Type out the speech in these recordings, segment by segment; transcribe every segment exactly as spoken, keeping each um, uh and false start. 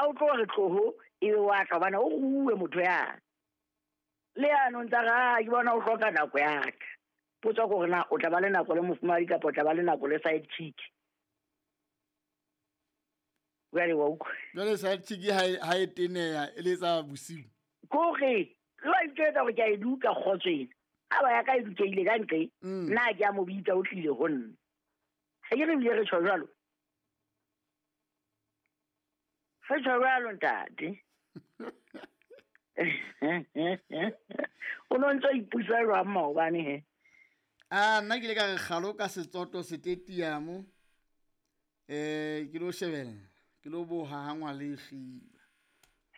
Ha o tlo re tloho e be wa tla bana o ruwe motho ya. Le ano ntsa ga ke bona o hloka nako ya ka. Potso gore na o tla ba le nako le mofumadi kapa o tla ba le nako le side chick. Jwale wa utlwa. Jwale side chick ha ha e teneya e letsa bosiu. Kore lo itsetsa gore ke a e duka kgotsweng. Ha ba ya ka e dukeile ka ntle nna ke a mo bitsa o tlile ho nna. Ha ke re bile re tjho jwalo. Re tjho jwalo ntate. O no ntso ipusa jwang maobane he? Ah, nna ke ile ka re kgalo ka setsoto setetiamo. Eh, ke lo shebella, ke lo boha ha ngwa le kgiba.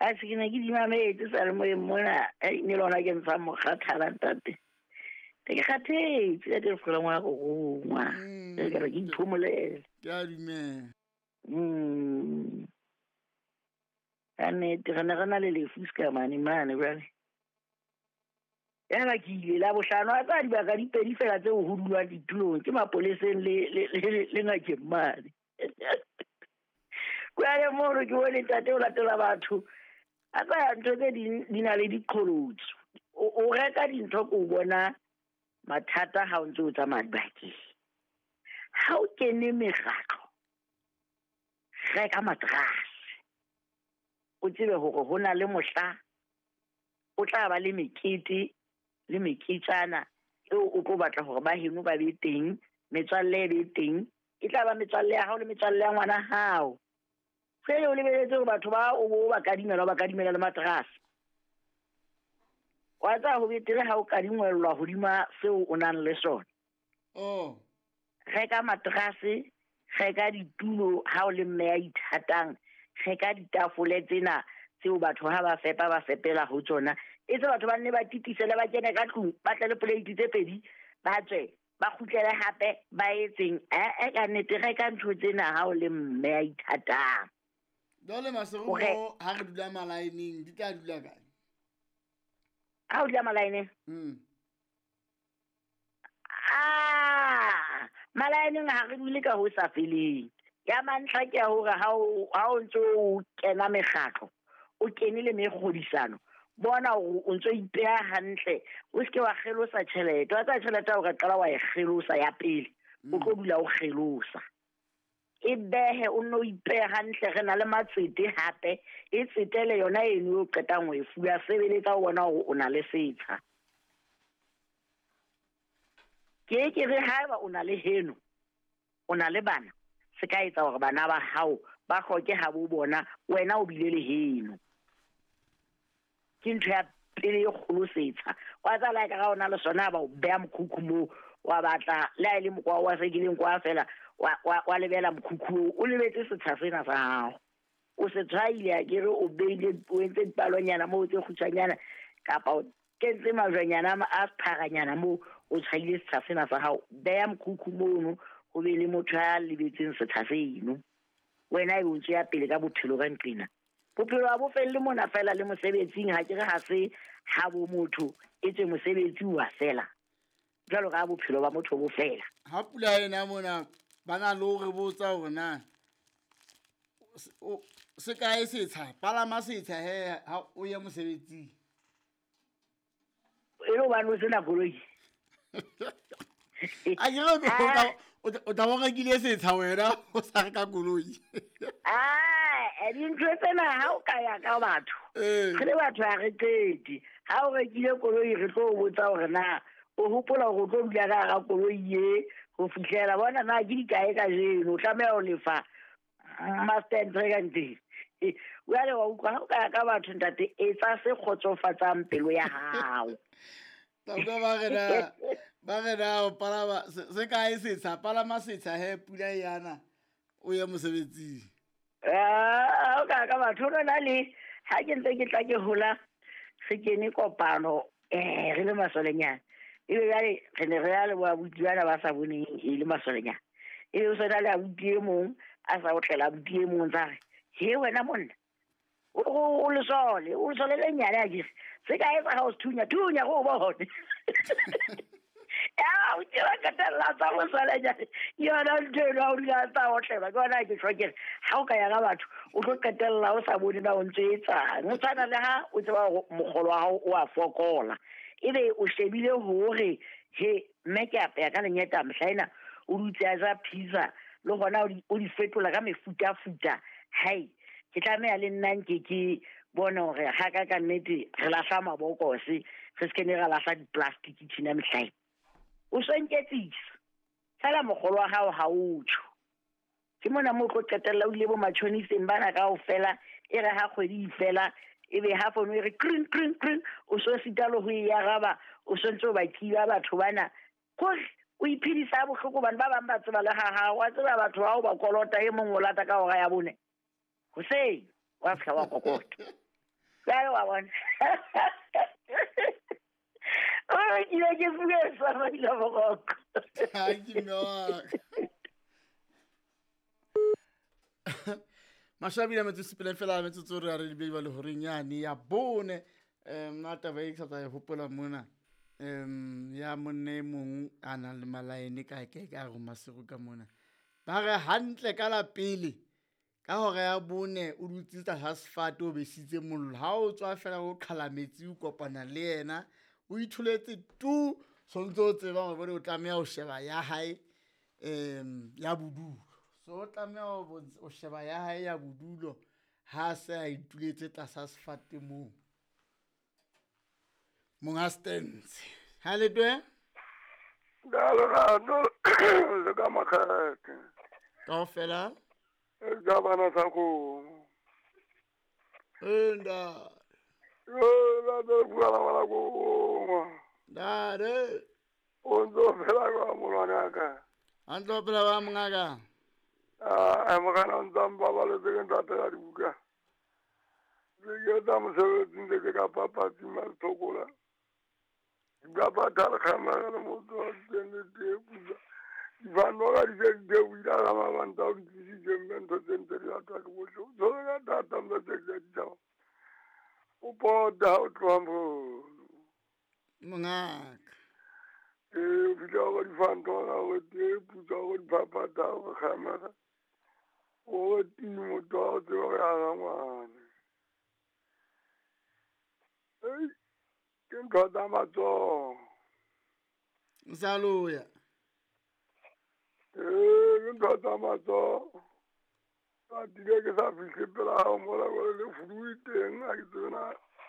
Ha se ke ne ke di mametse sa le moyeng mona, e ne lona ke ntsha mokgathala ntate. Ke kgathetse ka ke fela ngwana go rongwa. Ke re ke iphomolele. Ke a dumela. Mm. Ka nnete re ne re na le lefu se ka mane mane jwale. Ya ba ke ile la bohlano a tsa dibaka di pedi fela tseo ho dulwang ditulong ke mapoleseng le le le ngakeng mane. Kwa mono ke bone ntate o latela batho. A tsa ntho tse ding di na le diqholotso. O reka dintho ko bona mathata ha o ntse o tsamaya dibakeng. Ha o kene mekgatlo, reka matrase. O tsebe hore ho na le mohla o tla ba le mekete le meketjana eo o tlo batla hore ba heno ba be teng, metswalle e be teng, e tla ba metswalle ya hao le metswalle ya ngwana hao. Fele o lebeletse hore batho ba o bo ba kadimela ba kadimela le matrase. Wa tsa ho betere ha o kadingwellwa hodima seo o nang le sona. Oh. Reka matrase, reka ditulo ha o le mme ya ithatang, reka ditafole tsena tseo batho ha ba fepa ba fepela ho tsona. E tse batho ba nne ba titisele ba kene ka tlung, ba tle le plate tse pedi, ba tswe, ba kgutlele hape, ba etseng. Eh eh ka nnete reka ntho tsena ha o le mme ya ithatang. Jwale Maseru ha re dula malaeneng di tla dula kae? Ha o dula malaeneng? Mm. Ah, malaeneng ha re dule ka ho sa feleng. Ya mantlha ke ya hore ha o ha o ntso o kena mekgatlo, o kene le mekgodisano, bona hore o ntso ipeha hantle, o seke wa kgelosa tjhelete. Wa tsaya tjhelete o ka qala wa e kgelosa ya pele, o tlo dula o kgelosa. E behe o nno ipehe hantle, re na le matsete hape, e tsetele yona eno o qetang ho e fuwa, sebeletsa o bona hore o na le setsha. Ke ke re haeba o na le heno, o na le bana, se ka etsa hore bana ba hao ba hloke ha bo bona wena o bile le heno. Ke ntho ya pele e kgolo setsha. Wa tsa la ka ga ona le sona ba o beha mokhukhu moo, wa batla le ha e le mokgwa wa sekileng kwa fela, wa wa wa lebela mokhukhu o lebetse setsha sena sa hao. O se tshwaile a ke re o beile o entse dipalonyana moo tse kgutshwanyana kapa o kentse majwanyana a pharanyana moo o tshwaile setsha sena sa hao. Beha mokhukhu mono ho be le motho ya lebetseng setsha seno. Wena e o ntse ya pele ka bophelo ka nqena. Bophelo ha bo felle mona fela le mosebetsing, ha ke re ha se ha bo motho e tswe mosebetsi wa fela. Jwalo ka bophelo ba motho bo fela. Ha pula ena mona ba na le hore botsa hore na se kae setsha, palama setsha he ha o ye mosebetsing. E le hobane o sena koloi. A ke re o tla bo rekile setsha wena o sa reka koloi. Ah, dintho tsena ha o ka ya ka batho. Re le batho ha re qete. Ha o rekile koloi re tlo o botsa hore na o hopola hore o tlo dula ka hara koloi e ho fihlela bona na ke dikae kajeno, o tlameha ho lefa master and teng. Jwale wa utlwa ha o ka ya ka batho ntate, etsa se kgotsofatsang pelo ya hao. Tla ba re na ba re na o palama se kae setsha, palama setsha he pula yana o ye mosebetsing. Ah, o ka ka batho rona le ha ke ntse ke tla ke hola re kene kopano eh re le masolenyana. Ebe jwale re ne re ya le bo abuti bana ba sa boneng e le masolenyana. Ebe o sena le abuti e mong a sa o tlela abuti e mong tsa re he wena monna o o lesole o lesole le nyane a ke se ka etsa ha o thunya thunya go bone. Ya o tseba qetella tsa mosalanyane ke yona ntho eno ha o dula tsa otlelwa ke yona ke tjho ke re ha o ka ya ka batho o tlo qetella o sa bone na o ntse etsang. O tshwana le ha o tseba hore mokgolo wa hao o a fokola, ebe o shebile hore he mme ke apeya ka lenyeta mehla ena o dutse a ja pizza le hona o di fetola ka mefutafuta. Hai ke tlameha le nna nke ke bone hore ha ka ka nnete re lahla mabokose re se ke ne ra lahla di-plastic tjena mehla ena. O so nketsisa fela mokgolo wa hao ha o tjho. Ke mona moo o tlo qetella o ile bo matjhoniseng bana kaofela, e re ha kgwedi e fela ebe ha fono e re kring kring kring, o so sita le ho e araba, o so ntse o ba kiba batho bana. Kore o iphedisa bohloko hobane ba bang ba tseba le ha hao, wa tseba batho bao ba kolota e mong o lata ka hora ya bone hoseng wa fihla wa kokota. Jwale wa bona. O ke ile ke fuwe sa maila boroko. Ha ke mme wa ka. Mashabile metsotso sepele fela metsotso re a re lebedi ba le horeng yane ya bone. Um nna taba e ke sa tla e hopola mona um ya monna e mong a nang le malaene kae kae ka re Maseru ka mona. Ba re hantle ka la pele ka hora ya bone o dutse tlasa sefate o besitse mollo. Ha o tswa fela o qhala metsi o kopana le yena o itholetse tu, sontse o tseba hore bone o tlameha ho sheba ya hae um ya bodulo. So o tlameha ho sheba ya hae ya bodulo ha se a ituletse tlasa sefate moo. Monga Stens. Ha le twe? Ka lerato le ka makgethe. Kaofela? Ka bana sa kgomo. Eh nda. Yo la do bua la bana kgomo. Ntate. O ntso phela ka molwana ka. A ntso phela ba mongaka. Ah, a mogana o ntsa mpabaletse ke ntate ya dibuka. Ke ke tsa mosebetsing le ke ka papatsi mathokola. Ka patala khamara le motho wa teng le teng. Dibano ga di se di theohile ga mabanta o di tlisitse mme ntho tse ntse di ratwa ke bohle. O tshwere ka thata mme tse ke di tshaba. O pota o tloha mono. Mongaka. Ee, o fihla go difanto ga go tee putsa go diphaphatha go kgamega. O timo motho wa go tseba go ya ga ngwana. Ei, ke ntho tsa matsoho. Sa loya. Ee, ke ntho tsa matsoho. Ka tile ke sa fihle pela hao mola gore le furu e teng ha ke tsebe na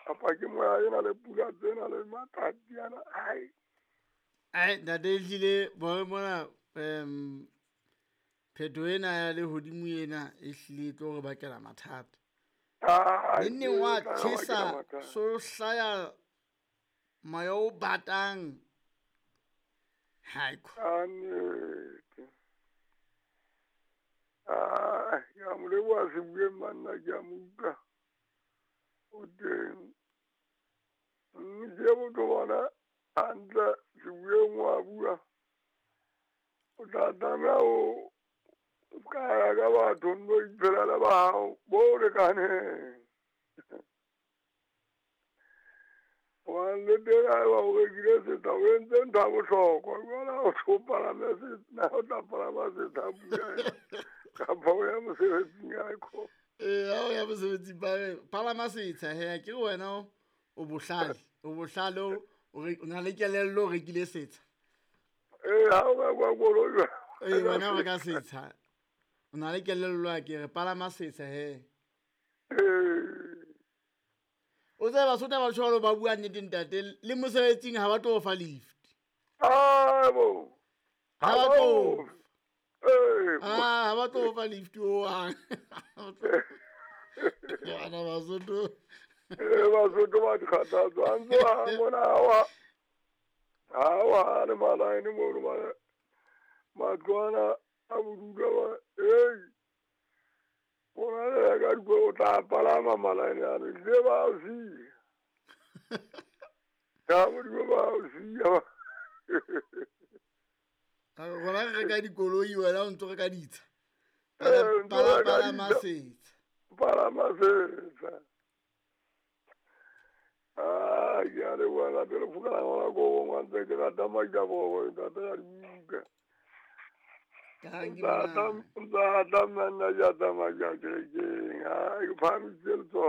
kapa ke moya ena le pula tsena le matsatsi ana. Ai. Ai, ntate ehlile bone mona um phetho ena ya lehodimo ena e hlile e tlo re bakela mathata. Neng wa tjhesa so hlaya moya o batang. Haiko. Annete. Ah, ke a mo leboha Sebueng manna ke a mo utlwa. O teng. Mme ke botho bona hantle Sebueng wa bua. O tla tlameha ho ka ya ka batho nno iphelela ba hao bo lekaneng. Hobane le teng haeba o rekile setsha o entse ntho ya bohlokwa. Jwale ha o tlo palame setsha, o tla palama setsha pula ena kapa o ya mosebetsing haeko. Ee, ha o ya mosebetsing ba re palama setsha he akere wena o bohlale, o bohlale o na le kelello o rekile setsha. Ee, ha o rekwa koloi jwale. Ee, wena o reka setsha. O na le kelello akere palama setsha he. Ee. O tsebe Basotho ba tjho ba bua nnete ntate le mosebetsing ha ba tlo fa lift. Abo. Ha ba tlo. Ee. Ah, ha ba tlo fa lift o hang. Bana Basotho. Ee, Basotho ba dikgathatso. A ntse wa mona ha wa. Ha wa le malaene mono mane. Matlo ana a bodulo ba. Ei. Bona le ka dikolo o tla palama malaene ano le ba o siya. Ka Modimo ba o siya. Rona re reka dikoloi wena o ntso reka ditsha. Ee, ntso reka Palama ditsha. setsha. Palama setsha. Ah, A ke a leboha ntate le fokela ngwana ko gongwe ntse ke rata Makabo ntate ya dibuka. Dankie Ntate monana. ntate nna ja tsamaya kerekeng. A ke phahamisitse letsoho.